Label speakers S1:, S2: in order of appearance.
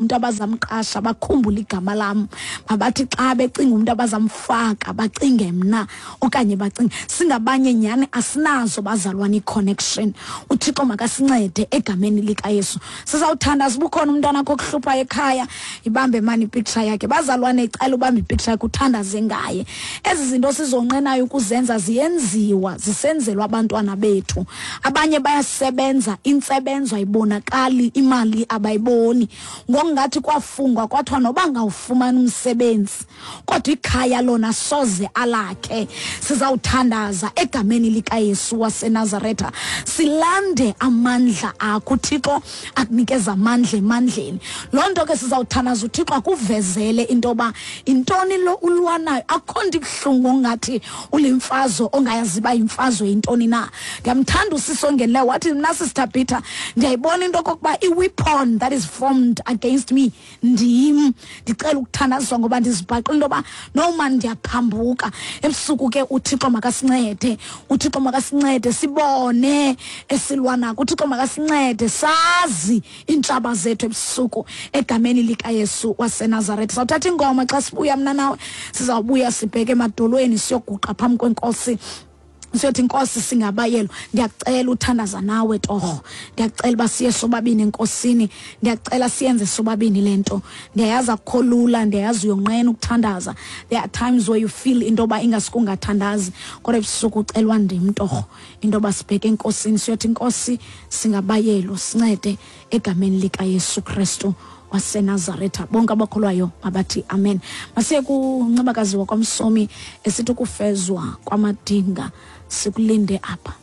S1: umntu abazamqasha bakhumbule igama lam, mabathi xa becinga umntu abazamfaka bacinge mna okanye bacinge. Singabanye nyhani asinazo bazalwana i-connection. UThixo makasincede egameni likaYesu. Sizawuthandaza. Uba ukhona umntwana akho okuhluphayo ekhaya, ibambe mani ipicture yakhe. Bazalwane, icela ubambe ipicture yakhe uthandaze ngaye. Ezi zinto sizonqenayo ukuzenza ziyenziwa, zisenzelwa abantwana bethu. Abanye bayasebenza, intsebenzo ayibonakali, imali abayiboni. Ngokungathi kwafungwa kwathiwa noba ngawufumana umsebenzi kodwa ikhaya lona soze alakhe. Sizawuthandaza egameni likaYesu waseNazaretha, silande amandla akho. UThixo akunikeza amandla emandleni. Loo nto ke sizawuthandaza uThixo akuvezele into yoba intoni lo ulwanayo. Akukho nto ibuhlungu ongathi ulimfazo ongayazi uba yimfazo yintoni na. Ndiyamthanda usisi ongenileyo wathi, mna Sister Peter ndiyayibona into okokuba i-weapon that is formed against me ndim. Ndicela ukuthandazwa ngoba ndizibhaqile into yoba noma ndiyaphambuka ebusuku. Ke uThixo makasincede, uThixo makasincede sibone esilwanako. UThixo makasincede sazi iintshaba zethu ebusuku egameni likaYesu waseNazaretha. Sawuthatha ingoma, xa sibuya mna nawe sizawubuya sibheke emadolweni, siyoguqa phambi kwenkosi, siyothi, Nkosi, singabayelo. Ndiyacela uthandaza nawe torho, ndiyacela uba siye sobabini enkosini, ndiyacela siyenze sobabini le nto. Ndiyayazi akukho lula, ndiyayazi uyonqena ukuthandaza. There are times where you feel into yoba ingasuke ungathandazi, kodwa ebusuku ucelwa ndim torho into yoba sibheke enkosini, siyothi, Nkosi, singabayelo, sincede egameni likaYesu Kristu waseNazaretha. Bonke abakholwayo mabathi amen. Masiye kuNcebakazi wakwaMsomi esithi ukufezwa kwamadinga, sikulinde apha.